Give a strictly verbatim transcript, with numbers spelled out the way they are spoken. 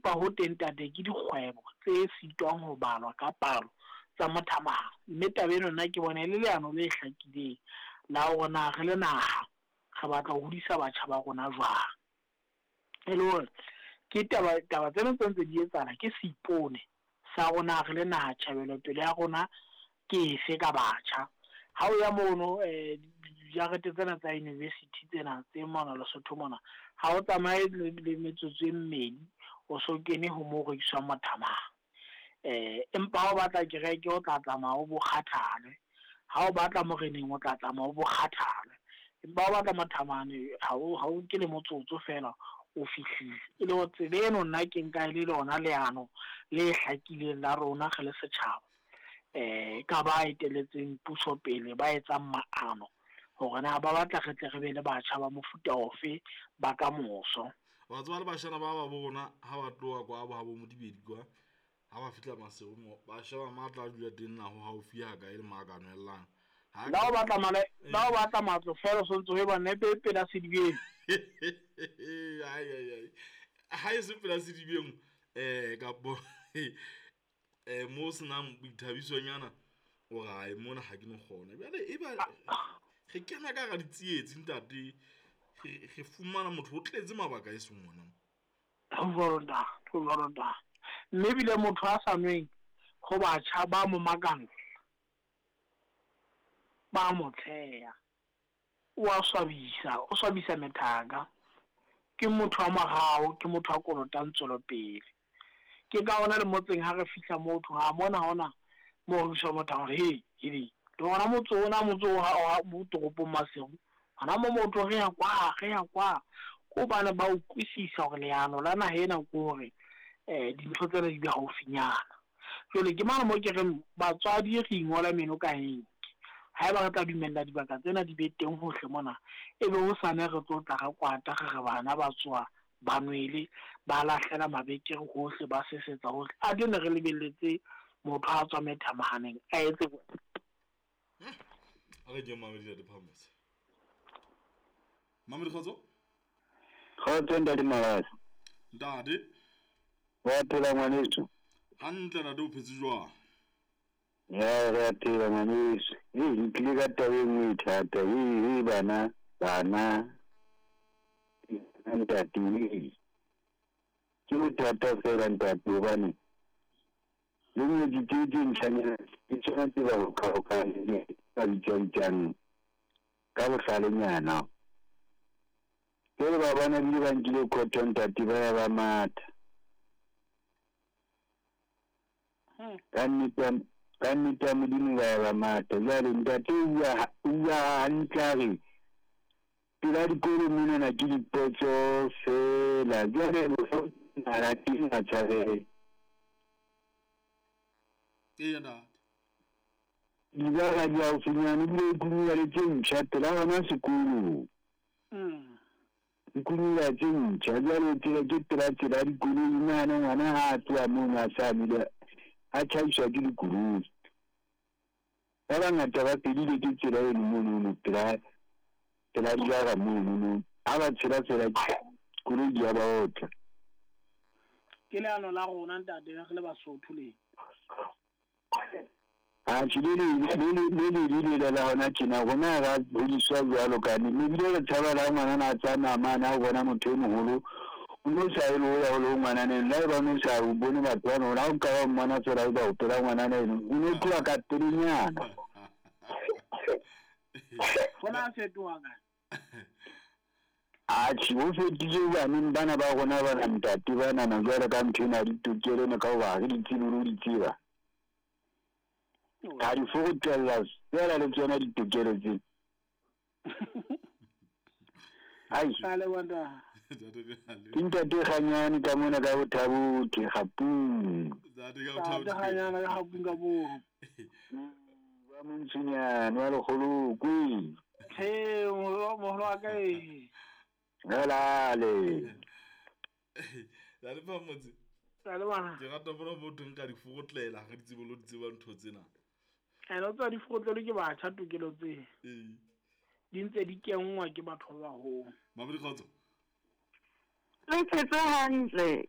Empa ho teng ntate ke dikgwebo tse sitwang ho balwa ka palo tsa mothamahane. Mme taba eno nna ke bona e le leano le hlakileng la hore na re le naha re batla ho hodisa batjha ba rona jwang. E le hore ke taba taba tsena tse ntse di etsahala ke seipone sa rona re le naha tjhebelopele ya rona ke efe ka batjha. Ha o ya mono eh dijarete tsena tsa university tsena tse mona Lesotho mona, ha o tsamaye le le metsotso e mmedi o so kene ho mo rekiswang mothamang. Eh empa ha o batla kereke o tla tsamaya o bo kgathale, ha o batla moreneng o tla tsamaya o bo kgathale. Empa ha o batla mothamane ha o ha o nke le motsotso fela o fihlile. E le hore tsela eno nna ke nka e le lona leano le hlakileng la rona re le setjhaba. Eh ka ba etelletseng puso pele ba etsang maano hore na ba batla re tle re be le batjha ba mofuta ofe ba ka moso. Wa tseba le bashana ba ba bo rona ha ba tloha kwa bo ha bo Modibedi kwa, ha ba fihla Maseru mo ba sheba matla a dula teng na ho haufi ha kae le mo a ka nwellang. Ha La o batla male la o batla matlo fela o sontso o e ba nepe pela sedibeng. Ai ai ai. Ha e se pela sedibeng eh kapo eh mo senang boithabisonyana o re ai mona ha ke no kgona. Jwale e ba re kena ka hara ditsietsi ntate, re re fumana motho o tletse mabaka e seng ona. Ho jwalo ntate, ho jwalo ntate. Mme ebile motho a sa nweng ho batjha ba mo makalla, ba mo tsheha, o a swabisa, o swabisa methaka. Ke motho wa morao, ke motho a kolotang tswelopele. Ke ka hona le motseng ha re fihla moo ho thwe, ha mona hona moo ho rekiswang motho a re, he, hele, le hona motse ona motse o ha mo toropong Maseru, hona mo motho re ya kwa, re ya kwa. Ke hobane ba utlwisisa hore leano la naha ena ke hore eh dintho tsena di be haufinyana. Jwale ke mane mo ke reng batswadi re ingola meno ka enke. Haeba re tla dumella dibaka tsena di be teng hohle mona, ebe hosane re tlo tla re kwata re re bana ba tswa ba nwele, ba lahlela mabekere hohle, ba sesetsa hohle. A ke ne re lebelletse motho a tswa methamahaneng a etse. A re ke Mamedi Ntate Phamotse. Mamedi kgotso? Kgotso ntate Malasi. Ntate. Wa phela ngwaneso? Hantle ntate, o phetse jwang? Ya re a phela ngwaneso. Ee, ke tlile ka taba e nngwe e thata. Ee, ee, bana, bana. Ntate, ee. Ke bothata fela ntate hobane le ngwetsi tse tse ntjhanyana ke tsona tse ba hokahokaneng ba bitsang ka bohlalenyana. Jwale ba bona ebile ba nkile cotton ntate ba ya ba matha. Ka nnete ka nnete ya Modimo ba ya ba matha. Jwale ntate o bua o bua hantle a re pela dikolo monana ke dipotso fela. Jwale ha teng a tshwarehe. Eya ntate. Dibaka di haufinyane ebile e kunyula le tse ntjha pela hona sekolong. Mm. Kunyula tse ntjha jwale tsela ke pela tsela ya dikoloi. Nahana ngwana ha a tloha mono a sa nwele a tjhaiswa ke dikoloi. Ba bangata ba fedile ke tsela eno monono pela pela dibaka monono. Ha ba tshela fela koloi di a ba otla. Ke leano la rona ntate re le Basotho le. Atjhe, le le le le le le le la hona tjena rona ra hodiswa jwalo ka ne. Ebile re tshaba la ngwanana a tsamaya mane ha o bona motho e moholo o no sa ye le ho ya ho lo ngwanana eno. Le haeba o no sa o bone batho bana, ha o ka wa mmona fela o ba o pela ngwanana eno, o no tloha ka pelenyana. Hona a fetoha kae? Atjhe, ho fetile baneng bana ba rona bana ntate banana jwale ka ntho ena ya ditokelo ena ka hoba ha re di tsebe le ho di tseba. Ha di fokotella fela le tsona ditokelo tse. Ai. A leboha ntate. Ntate ke a leboha. Ke ntate Kganyane ka mona ka Bothabothe, Kgapung. Ntate ka Bothabothe. Ntate Kganyane ka Kgapung ka moo. Wa Montshinyane wa Lekgolokwe. He, moholo moholo wa ka e. Helale. Ntate Phamotse. A leboha. Ke rata bona motho nka di fokotlela ha re di tsebe le ho di tseba ntho tsena. Ene o tswa di fokotlelwe ke batjha tokelo tse. Ee. Di ntse di kenngwa ke batho ba baholo. Mamedi kgotso. Le phetse hantle.